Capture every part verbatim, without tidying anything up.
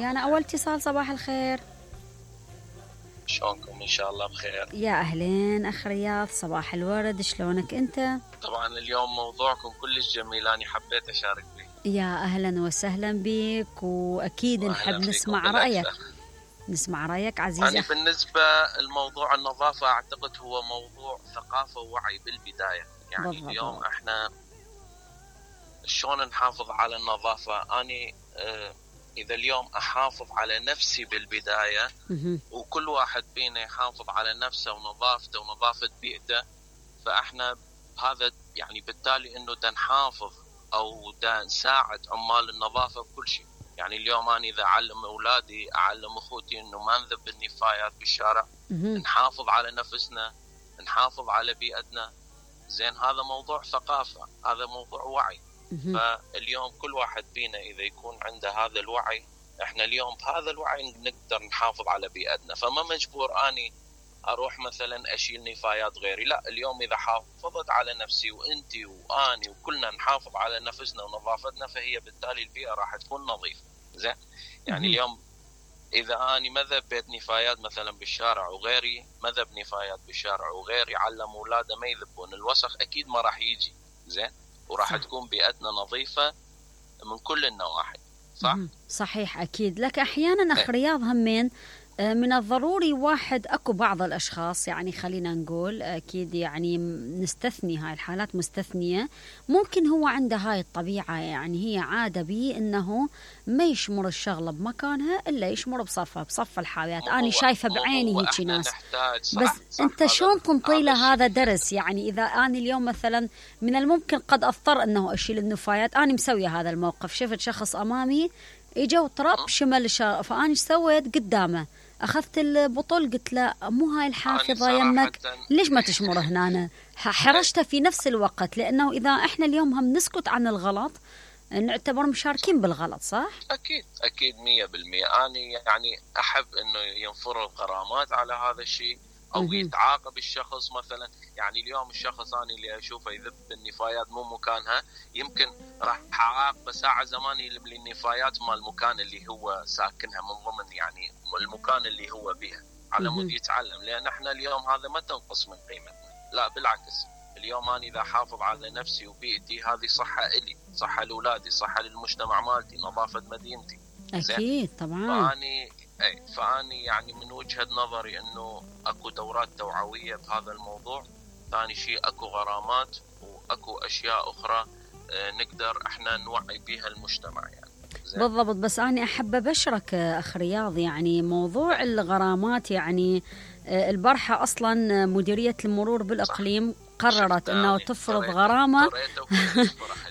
ريانا، أول اتصال، صباح الخير. شلونكم؟ إن شاء الله بخير. يا أهلين أخ رياض، صباح الورد، شلونك أنت؟ طبعا اليوم موضوعكم كلش جميل، أنا حبيت أشارك به. يا أهلا وسهلا بك، وأكيد نحب نسمع رأيك. نسمع رأيك عزيزي. يعني بالنسبة الموضوع النظافة أعتقد هو موضوع ثقافة ووعي بالبداية. يعني بالضبط. اليوم احنا شلون نحافظ على النظافة؟ أنا اه إذا اليوم أحافظ على نفسي بالبداية وكل واحد فينا يحافظ على نفسه ونظافته ونظافة بيئته، فإحنا هذا يعني بالتالي إنه دا نحافظ أو دا نساعد عمال النظافة بكل شيء. يعني اليوم أنا إذا أعلم أولادي، أعلم أخوتي إنه ما نذب النفايات بالشارع، نحافظ على نفسنا، نحافظ على بيئتنا، زين هذا موضوع ثقافة، هذا موضوع وعي. فاليوم كل واحد فينا إذا يكون عنده هذا الوعي، إحنا اليوم بهذا الوعي نقدر نحافظ على بيئتنا. فما مجبور أني أروح مثلا أشيل نفايات غيري، لا، اليوم إذا حافظت على نفسي وأنتي وأني وكلنا نحافظ على نفسنا ونظافتنا، فهي بالتالي البيئة راح تكون نظيفة. زين يعني اليوم إذا أني ما ذبيت نفايات مثلا بالشارع وغيري ما ذب نفايات بالشارع وغيري علم أولاده ما يذبون، الوسخ أكيد ما راح يجي. زين وراح تكون بيئتنا نظيفة من كل النواحي. صح؟ صحيح أكيد. لك أحيانا أخ رياض همين من الضروري واحد أكو بعض الأشخاص، يعني خلينا نقول أكيد يعني نستثني هاي الحالات مستثنية، ممكن هو عنده هاي الطبيعة، يعني هي عادة بي إنه ما يشمر الشغلة بمكانها إلا يشمر بصفها بصف الحاويات. أنا شايفة بعيني هيك ناس. صح بس صح أنت شلون تنطي له هذا درس؟ يعني إذا أنا اليوم مثلا من الممكن قد أضطر أنه أشيل النفايات، أنا مسوية هذا الموقف، شفت شخص أمامي إجا وطرب شمل الشارع، فأنا إيش سويت قدامه؟ أخذت البطل قلت له مو هاي الحافظة يمك، ليش ما تشمر هنا؟ حرشته في نفس الوقت، لأنه إذا إحنا اليوم هم نسكت عن الغلط نعتبر مشاركين بالغلط. صح؟ أكيد أكيد مية بالمية. أنا يعني أحب إنه ينفر الغرامات على هذا الشيء أو م-م. يتعاقب الشخص مثلا. يعني اليوم الشخص أنا اللي أشوفه يذب النفايات مو مكانها، يمكن راح أعاقبه ساعة زمان يلم لي النفايات مال المكان اللي هو ساكنها من ضمن يعني المكان اللي هو بها على مود يتعلم. لأن احنا اليوم هذا ما تنقص من قيمتنا، لا بالعكس. اليوم أنا إذا حافظ على نفسي وبيئتي هذه صحة إلي، صحة لأولادي، صحة للمجتمع مالتي، نظافة مدينتي. أكيد طبعا. فأني أي فأني يعني من وجهة نظري إنه أكو دورات توعوية بهذا الموضوع. ثاني شيء أكو غرامات وأكو أشياء أخرى نقدر إحنا نوعي بها المجتمع يعني. بالضبط. بس أنا أحب أبشرك أخ رياض، يعني موضوع الغرامات، يعني البارحة أصلا مديرية المرور بالإقليم قررت أنه تفرض غرامة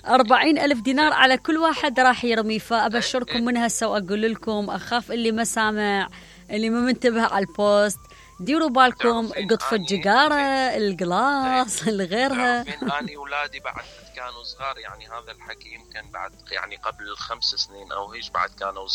أربعين ألف دينار على كل واحد راح يرمي. فأبشركم من هسه وأقول لكم، أخاف اللي ما سامع، اللي ما منتبه على البوست، ديروا بالكم، قطف الجقارة، القلاص، الغيرها. أنا أولادي بعد كانوا صغار، يعني هذا الحكي يمكن بعد يعني قبل الخمس سنين أو هيش، بعد كانوا صغار.